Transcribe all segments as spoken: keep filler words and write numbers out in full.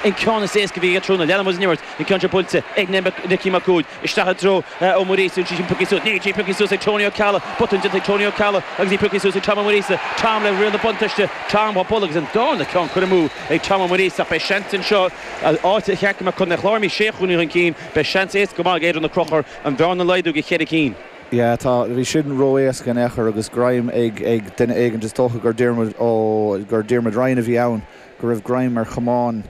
An ceann is éasca a bhí aige tráthnóna. Leanann muid an imirt, an ceann seo buailte ag Nicky Mac Uaid isteach i dtreo Ó Muiríosa, í sin pioctha suas, níl sí pioctha suas ag Tony Ó Ceallaigh, botún déanta ag Tony Ó Ceallaigh agus í pioctha suas ag Tom Ó Muiríosa, Tom le riail na buntáiste, Tom á bualadh agus an darna ceann curtha amú ag Tom Ó Muiríosa ach beidh seans anseo áit a cheart go mbeadh Contae an Chláir imithe sé chúilín chun cinn, beidh seans éasca go maith ag Aodhrán Ó Conchúir an bhearna a laghdú go cheithre cinn. Yeah, tá, bhí sin ró-éasca in aon chor agus greim ag ag duine éigin, is dócha gur Diarmuid ó gur Diarmuid Ryan a bhí ann, go raibh greim ar chamán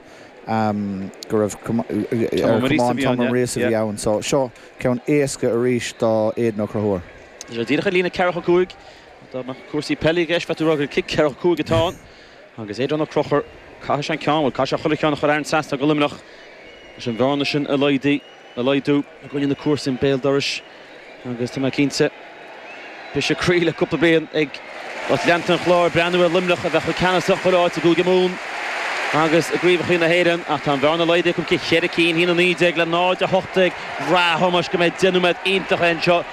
um, go raibh ar chamán Tom Ó Muiríosa a bhí ann. So seo ceann éasca arís do Aidan Ó Conchúir. Sé díreach ar líne ceathracha cúig, dá mbeadh cúrsaí peile i gceist bheadh tú ag rá gur cic ceathracha cúig atá ann agus Aodhrán Ó Conchúir, caithfidh sé an ceann, bhuel caithfidh sé chuile cheann a chur thar an trasnán do Luimneach leis an bhearna sin a laghdú a laghdú i gcoinne na comharsan béal dorais agus tá mé cinnte briseadh croí le cúpla bliain ag lucht leanta an Chláir breathnú ar Luimneach a bheith chomh ceannasach chuile áit i gCúige Mumhan agus i gcraobhacha na hÉireann ach tá an bhearna laghdaithe acu go cheithre cinn, a haon a naoi déag le náid a hocht déag. Bhraith Thomáis go mbeidh deich nóiméad iontach anseo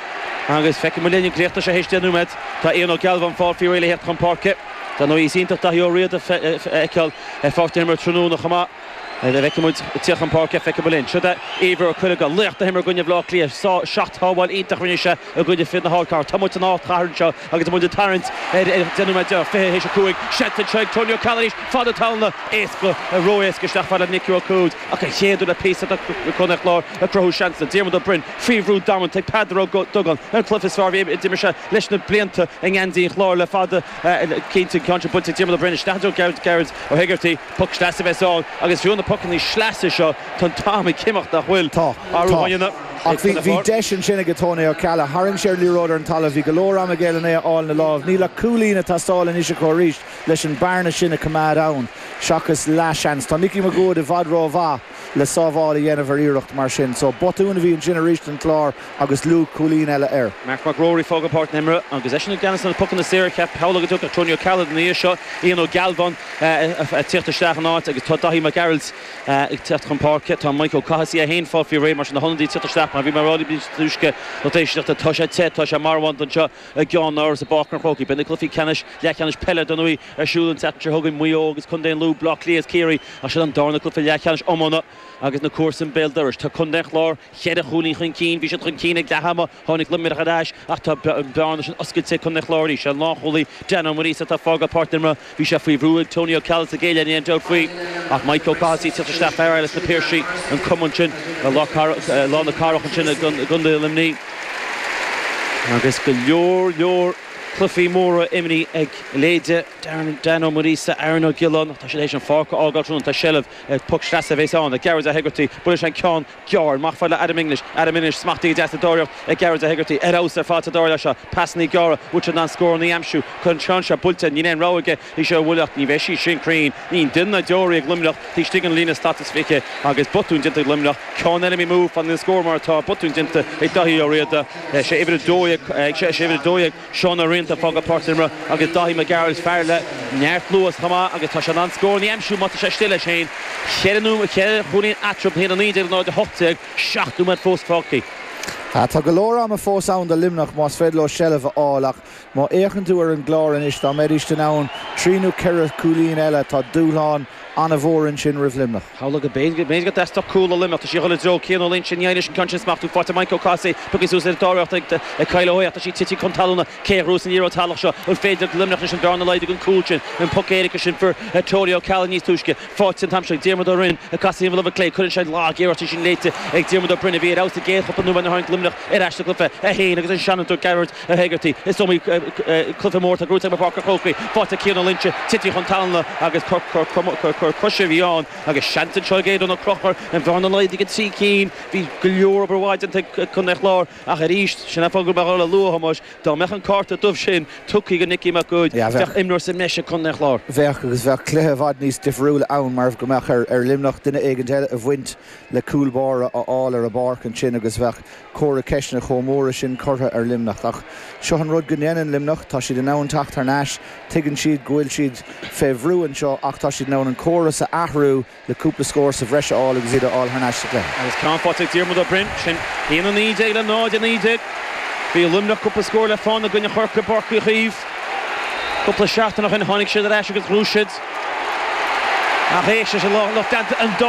agus feicfidh muid linn an gcríochnóidh sé théis deich nóiméad. Tá Ian Ó Gealbháin fáil faoi réir le theacht chun páirce. Dar ndóigh is iontach Daithí Ó Riada a fheiceáil ar pháirc na himeartha tráthnóna chomh maith. An bhfeicfidh muid ag tíocht chun páirce, feicfidh muid linn. Seo é Ivor Ó Cuileagáin, laoch na himeartha i gcoinne Bhaile Átha Cliath, seacht shábháil iontach a rinne sé i gcoinne fir na hardcathrach. Tá muid san ardchathair anseo agus tá muid ag tarraingt ar deich nóiméad deireadh, fiche théis a cúig. Seans anseo ag Tony Ó Ceallaigh arís, fad talún, éasca, ró-éasca isteach fad le Nicky Ó Cuaid ach an chéad uair le píosa do Chontae an Chláir ag cruthú seansanna. Diarmuid Ó Broin faoi bhrú damanta ag Peadar Ó Dubhgáin, an cluiche is fearr a bhí a d'imir sé leis na blianta i ngeansaí an Chláir le fada. Cinnte, an ceann seo buailte ag Diarmuid Ó Broin isteach i dtreo Gearóid Ó hEigeartaigh. Poc sleasa a bheas ann agus fiú na pocanna sleasa seo, tá an t-am ag imeacht nach bhfuil? Tá. Athrú Tá. á dhéanamh Ach ag bhí, Contae bhí Chláir. deis ansin ag Tony Ó Ceallaigh. Tharraing sé ar liathróid ar an talamh. Bhí go leor ama aige lena é a fháil ina láimh. Níl ach cúilín ag teastáil anois acu arís leis an bearna sin a choimeád ann seachas leathsheans. Tá Nicky Mac Uaid i bhfad rómhaith le sábháil a dhéanamh ar iarracht mar sin. So botún a bhí ansin arís don Chlár agus luach cúilín eile air. Marc Mac Ruairí ag fágáil páirc na himeartha agus eisean i gceannas ar na pocanna saora. Cheap shamhlódh go dtiocfadh Tony Ó Ceallaigh ina dhiaidh seo, Ian Ó Gealbháin ag tíocht isteach in áit agus tá Daithí Mac Gearailt ag teacht chun páirce. Tá Mike Ó Cathasaigh é féin fáil faoi réir mar sin na hionadaithe ag tíocht isteach mar bhí mé ag rá libh níos túisce lucht éisteachta. Tá sé te, tá sé marbhánta anseo i gceannáras i bPáirc an Chrócaigh. Beidh na cluichí ceannais, leathcheannais peile dar ndóigh ar siúl an tseachtain seo chugainn, Maigh Eo agus Contae an Lú, Baile Átha Cliath is Ciarraí ach sin an darna cluiche leathcheannais iomána agus na comharsain béal dorais. Tá Contae an Chláir cheithre chúilín chun cinn, bhí siad chun cinn ag leath ama, tháinig Luimneach ar ais ach tá an bearna sin oscailte ag Contae an Chláir arís. An lánchúlaí Dan Ó Muiríosa atá ag fágáil páirc na himeartha, bhí sé faoi bhrú ag Tony Ó Ceallaigh sa gcéad leath, níl aon dabht faoi ach Mike Ó Cathasaigh ag tíocht isteach, fear eile as na Piarsaigh, an cumann sin i lár na cathrach ansin i gContae Luimnigh. Agus go leor leor cluichí móra imrithe ag leithéide Dan Ó Muiríosa, Aaron Ó Giolláin, tá siad théis an pháirc a fhágáil tráthnóna, tá seilbh ag poc sleasa a bheas ann ag Gearóid Ó hEigeartaigh, buaileann sé an ceann gearr amach fad le Adam English, Adam English smachtaithe go deas sa dara hiarracht ag Gearóid Ó hEigeartaigh, ar fheabhas ar fad sa dara leath seo, pasannaí gearra, bhfuil sé in ann scóranna a aimsiú, cuir an ceann seo buailte, níl aon rogha aige, í seo a bhualadh ach ní bheidh sí sin cruinn, níl duine ná deoraí ag Luimneach taobh istigh den líne slat is fiche agus botún déanta ag Luimneach, ceann eile imithe amú, fanann an scór mar atá, botún déanta ag Daithí Ó Riada, sé uimhir a dó dhéag, sé uimhir a dó dhéag. Seán Ó Rianta ag fágáil páirc na himeartha agus Daithí Mac Gearailt, fear le neart luas chomh maith agus tá sé in ann scóranna a aimsiú má tá sé istigh leis féin. Ceithre nóiméad, ceithre chúilín eatarthu, a haon a naoi déag le náid a hocht déag, seacht nóiméad fós fágtha. Tá go leor ama fós ann do Luimneach más féidir leo seilbh a fháil ach má fhéachann tú ar an gClár anois, dá mbeidís in ann trí nó ceithre chúilín eile, tá dúshlán an-mhór ansin roimh Luimneach. Shamhlódh go b'fhéidir go dteastódh cúl ó Luimneach. Tá sí ag dul i dtreo Cian Ó Loingsigh. Ní éireoidh leis an ceann sin smachtú. Faighte Mike Ó Cathasaigh. Pioctha suas ar an dara hiarracht ag Kyle Ó hAodha. Tá sí tite chun talúna. Cé a ghnóthós an liathróid salach seo? An féidir le Luimneach anois an bhearna a laghdú den cúl sin? An poc éirice sin fuair Tony Ó Ceallaigh níos túisce. Faighte an t-am seo ag Diarmuid Ó Rinn. Ag casadh ar an lámh clé. Cuireann sé lag-iarracht í sin léite ag Diarmuid Ó Broin a bhí ar fheabhas sa gcéad chúpla nóiméad nuair a tháinig Luimneach ar ais sa gcluiche. É féin agus an seanfhondúir Gearóid Ó hÉigeartaigh. Is iomaí cluiche mór atá gnóthaithe acu i bPáirc an Chrócaigh. Faighte ag Cian Ó Loingsigh, tite chun talúna agus cor coise a bhí ann agus seans anseo ag Aodán Ó Conchúir an bhearna a laghdú go trí cinn. Bhí go leor obair mhaith déanta ag Contae an Chláir ach arís, sin an fáth go raibh mé ag lua, a Thomáis, dá mbeadh an cárta dubh sin tugtha do Nicky Mac Uaid, bheadh imreoir sa mbreis ag Contae an Chláir. Bheadh agus bheadh cluiche i bhfad níos difriúla ann mar go mbeadh ar Luimneach duine éigin eile a bhaint le cúl báire a fháil ar an bpáirc ansin agus bheadh comhartha ceisteanna chomh móra sin curtha ar Luimneach. Ach seo an rud go ndéanann Luimneach, tá siad in ann teacht thar n-ais, tuigeann siad go bhfuil siad fé bhrú anseo ach tá siad in ann an córas a athrú le cúpla scór sa bhreis a fháil agus iad a fháil thar n-ais sa chluiche. Agus ceann faighte ag Diarmuid Ó Broin, sin a haon a naoi déag le náid a naoi déag. Bhí Luimneach cúpla scór le fána i gcoinne Chorcaí i bPáirc Uí Chaoimh cúpla seachtain ó shin. Tháinig siad ar ais agus ghnóthaigh siad Ach éis se lucht an dá